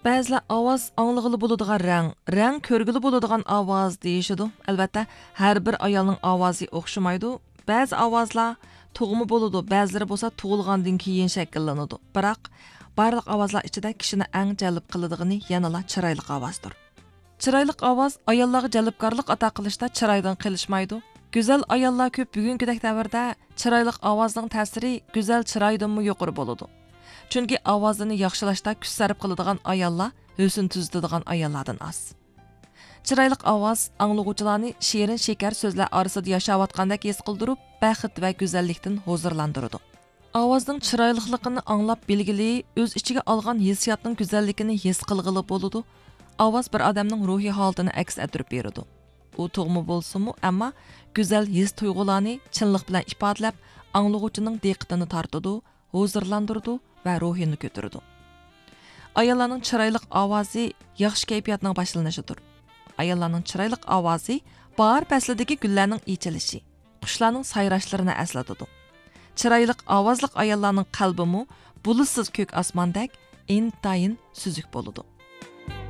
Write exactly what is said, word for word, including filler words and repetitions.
بەزىلەر ئاۋاز ئاڭلىغىلى بولىدىغان رەڭ، رەڭ كۆرگىلى بولىدىغان ئاۋاز دېيىشىدۇ. ئەلۋەتتە، ھەر بىر ئايالنىڭ ئاۋازى ئوخشىمايدۇ. بەزى ئاۋازلار تۇغما بولىدۇ، بەزىلىرى بولسا تۇغۇلغاندىن كېيىن شەكىللىنىدۇ. بىراق، بارلىق ئاۋازلار ئىچىدە كىشىنى ئەڭ جەلپ قىلىدىغىنى يەنىلا چىرايلىق ئاۋازدۇر. چىرايلىق ئاۋاز ئاياللارغا جەلپكارلىق ئاتا قىلىشتا چىرايدىن قېلىشمايدۇ. گۈزەل ئاياللار كۆپ. بۈگۈنكىدەك دەۋردە چىرايلىق ئاۋازنىڭ تەسىرى گۈزەل چىرايدىنمۇ يۇقىرى بولىدۇ. چۈنكى ئاۋازىنى ياخشىلاشتا كۈچ سەرپ قىلىدىغان ئاياللار ھۆسن تۈزىتىدىغان ئاياللاردىن ئاز. چىرايلىق ئاۋاز ئاڭلىغۇچىلارنى شېرىن شېكەر سۆزلەر ئارىسىدا ياشاۋاتقاندەك ھېس قىلدۇرۇپ، بەخت ۋە گۈزەللىكتىن ھۇزۇرلاندۇرىدۇ. ئاۋازنىڭ چىرايلىقلىقىنى ئاڭلاپ بىلگىلى، ئۆز ئىچىگە ئالغان ھېسسىياتنىڭ گۈزەللىكىنى ھېس قىلغىلى بولىدۇ. ئاۋاز بىر ئادەمنىڭ روھىي ھالىتىنى ئەكس ئەتتۈرۈپ بېرىدۇ. ئۇ تۇغما بولسىمۇ، ئەمما گۈزەل ھېس تۇيغۇلارنى چىنلىق بىلەن ئىپادىلەپ، ئاڭلىغۇچىنىڭ دىققىتىنى تارتىدۇ، ھۇزۇرلاندۇرىدۇ ۋە روھىنى كۆتۈرىدۇ. ئاياللارنىڭ چىرايلىق ئاۋازى ياخشى كەيپىياتنىڭ باشلىنىشىدۇر. ئاياللارنىڭ چىرايلىق ئاۋازى باھار پەسلىدىكى گۈللەرنىڭ ئېچىلىشى، قۇشلارنىڭ سايراشلىرىنى ئەسلىتىدۇ. چىرايلىق ئاۋازلىق ئاياللارنىڭ قەلبىمۇ بۇلۇتسىز كۆك ئاسماندەك ئىنتايىن سۈزۈك بولىدۇ.